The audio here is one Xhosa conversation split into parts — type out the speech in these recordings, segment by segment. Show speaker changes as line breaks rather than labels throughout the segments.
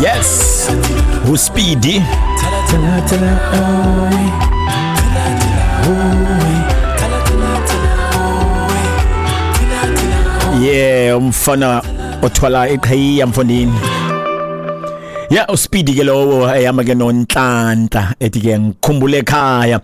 Yes, uSpeedy. Yeah, umfana othwala iqhiya mfondini. Ya, uSpeedy ke lowo, ehamba ke noNtlantla, ethi ke ngikhumbule ekhaya.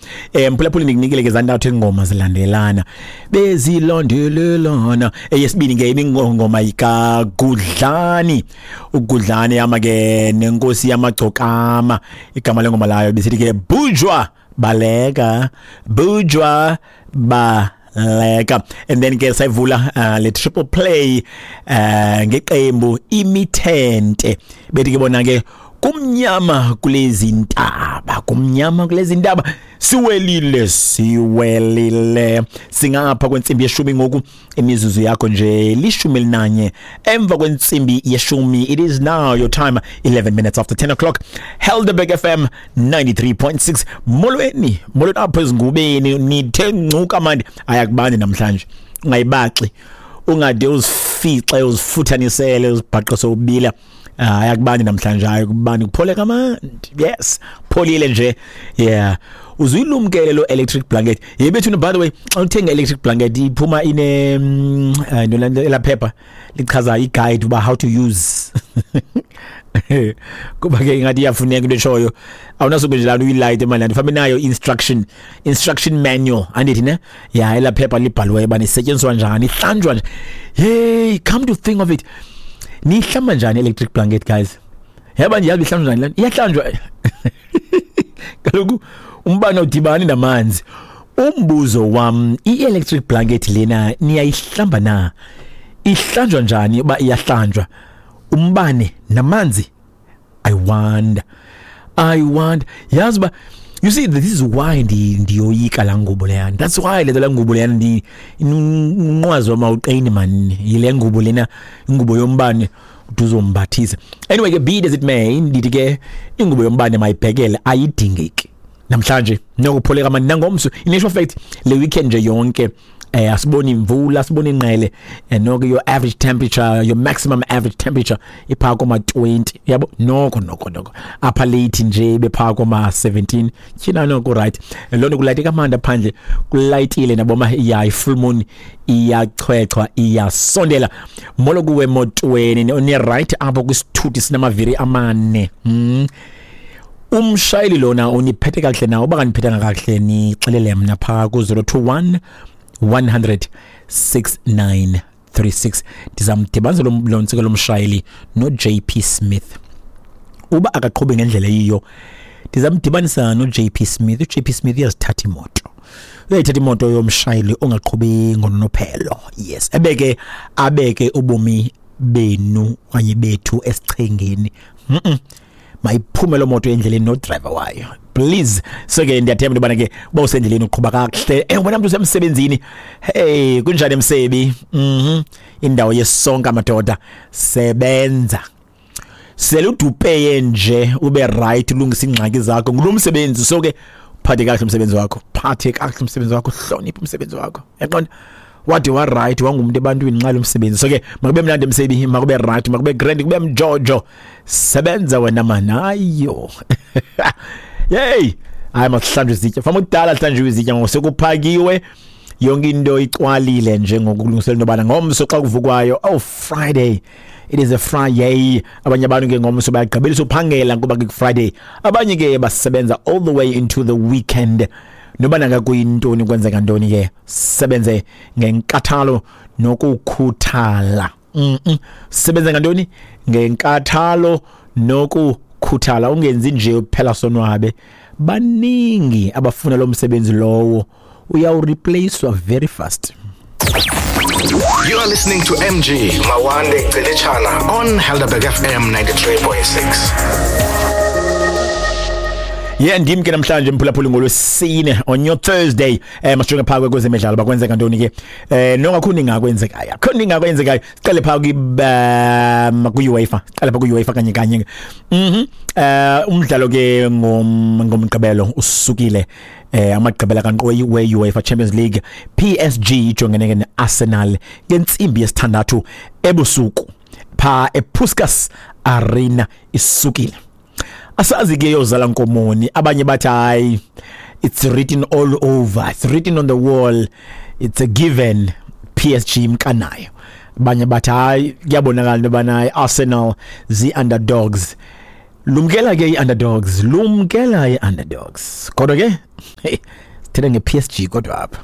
Mphulaphuli, ndikunikele ke zantathu ingoma zilandelana, bezilandelelana. Eyesibini ke ibingoma ikaGudlani, uGudlani ehamba ke nenkosi yamagcokama. Igama lengoma layo bisithi ke Bujwa Baleka, Bujwa Baleka. And then ke sayivula le triple play ngeqembu Imithente, bethi ke bona ke kumnyama kulezi ntaba, kumnyama kulezi ntaba, siwelile, siwelile. Singapha kwentsimbi yeshumi ngoku, imizuzu yakho nje 11 emva kwentsimbi yeshumi. It is now your time, 11 minutes after 10 o'clock, Helderberg FM 93.6. Molweni, molweni apho ezingubeni, nithe ncuka manje. Ayakubani namhlanje, ungayibaxi, ungade uzifixe, uzifuthanisele, uzibhaqe sowubila. Ayakubani namhlanje, ayakubani, kuphole kamandi. Yes, pholile nje. Yeah, uzuyilumkele lo electric blanket yebethu. By the way, xa uthenga electric blanket iphuma ine ela phepha lichaza i-guide uba how to use, kuba ke ingathi iyafuneka into eshoyo. Awunasuke nje lana uyilayite manje, fanele nayo instruction manual, andithi ne? Ya, ela phepha libhaliweyo uba isetyenziswa njani, ihlanjwa nje. Hey, come to think of it, nihlamba njani electric blanket, guys? Yaba nje, yazi ihlanjwa njani lana? Iyahlanjwa kaloku, umbane udibani namanzi. Umbuzo wam, i-electric blanket lena niyayihlamba na? Ihlanjwa njani uba iyahlanjwa? Umbane namanzi, I wonder, I wonder. Yazi uba, you see, this is why ndiyoyika laa ngubo leyana. That's why le laa ngubo leyana, ndi umnqwazi wam awuqini man yile ngubo lena, ingubo yombane uzombathisa. Anyway ke, be it as it may, ndithi ke ingubo yombane mayibhekele, ayidingeki namhlanje. Nokupholeka mani nangomso. In actual fact, le weekend nje yonke asiboni imvula, asiboni inqele. Noko your average temperature, your maximum average temperature ipha koma 20, yabo. Noko apha late nje bepha koma 17. Tyhina, noko right. Loo nto kulayite kamandi phandle, kulayitile naboma. Ya, i-full moon iyachwechwa, iyasondela. Molo kuwe emotweni, ni right apho kwisithuthi sinamaviri amane. Umshayeli lona uniphethe kakuhle na? Uba kaniphethanga kakuhle, nixelele mna phaa ku-021 100 6936. Ndizamdibanisa lo ntsika lomshayeli no-JP Smith. Uba akaqhubi ngendlela eyiyo, ndizamdibanisa no-JP Smith. U-JP Smith uyazithatha imoto, uyayithatha imoto yomshayeli ongaqhubi ngononophelo. Yes, ebeke abeke ubomi benu okanye bethu esichengeni. Mayiphume loo moto endleleni nodriver wayo, please. So ke ndiyathemba into yobana ke uba usendleleni uqhuba kakuhle. Wena mntu usemsebenzini, hey, kunjani emsebi? Indawo yesonka madoda, sebenza sele udupeye nje, ube right, ulungise iingxaki zakho ngulo msebenzi. So ke phathe kakuhle umsebenzi wakho, phathe kakuhle umsebenzi wakho, hloniphe umsebenzi wakho, yaqonda? Wade wa right, wangumuntu ebantwini nxa lo msebenzi. So ke makube mnandi emsebi, makube right, makube grand, kube mjojo. Sebenza wena man. Ayo yey, hayi, masihlanjwe izitya fama kudala, hlanjwe izitya ngoku, sekuphakiwe yonke into, icwalile nje ngokulungisela into yobana ngomso xa kuvukwayo, oh, Friday, it is a Friday. Abanye abantu ke ngomso bayagqibelisa uphangela kuba ke Friday. Abanye ke basebenza all the way into the weekend. Noba nangakuyintoni, kwenzeka ntoni ke, sebenze ngenkathalo nokukhuthala. Sebenze ngantoni? Ngenkathalo nokukhuthala. Ungenzi nje phela sonwabe. Baningi abafuna lo msebenzi lowo, uyawureplacewa very fast.
You are listening to MG Mawande Gcilitshana on Helderberg FM 93.6.
Yeah, ndim ke namhlanje mphulaphuli ngolwesine, on your Thursday. Masijonge phaa kwezemidlalo bakwenzeka ntoni ke. Nongakhuni ngakwenzekayo, akho ningakwenzekayo. Siqale phaa kwi UEFA, siqale phaa kwi UEFA kanye kanye. Umdlalo ke ngomgqibelo usukile, amagqibela kankqoyi we-UEFA Champions League. PSG ijongene ke ne-Arsenal ngentsimbi yesithandathu ebusuku. pha ePuskas Arena isukile. Asazi ke yozala nkomoni. Abanye bathi hayi, it's written all over, it's written on the wall, it's a given, PSG imkanayo. Abanye bathi hayi, kuyabonakala into yobana Arsenal zi-underdogs. Lumkela ke i-underdogs, lumkela i-underdogs. Kodwa ke hey, sithetha nge-PSG kodwa apha.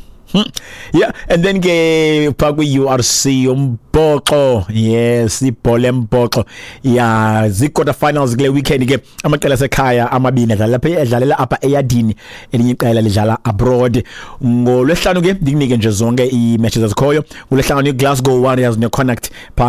Yeah, and then ke pha kwi-URC umbhoxo, yes, ibhola embhoxo ya zii-quarter finals kule weekend ke. Amaqela asekhaya amabini adlala lapha, edlalela apha eyadini, elinye iqela lidlala abroad. Ngolwesihlanu ke ndikunike nje zonke ii-matches ezikhoyo. Ngolwesihlanu, iGlasgow Warriors neConnacht pha.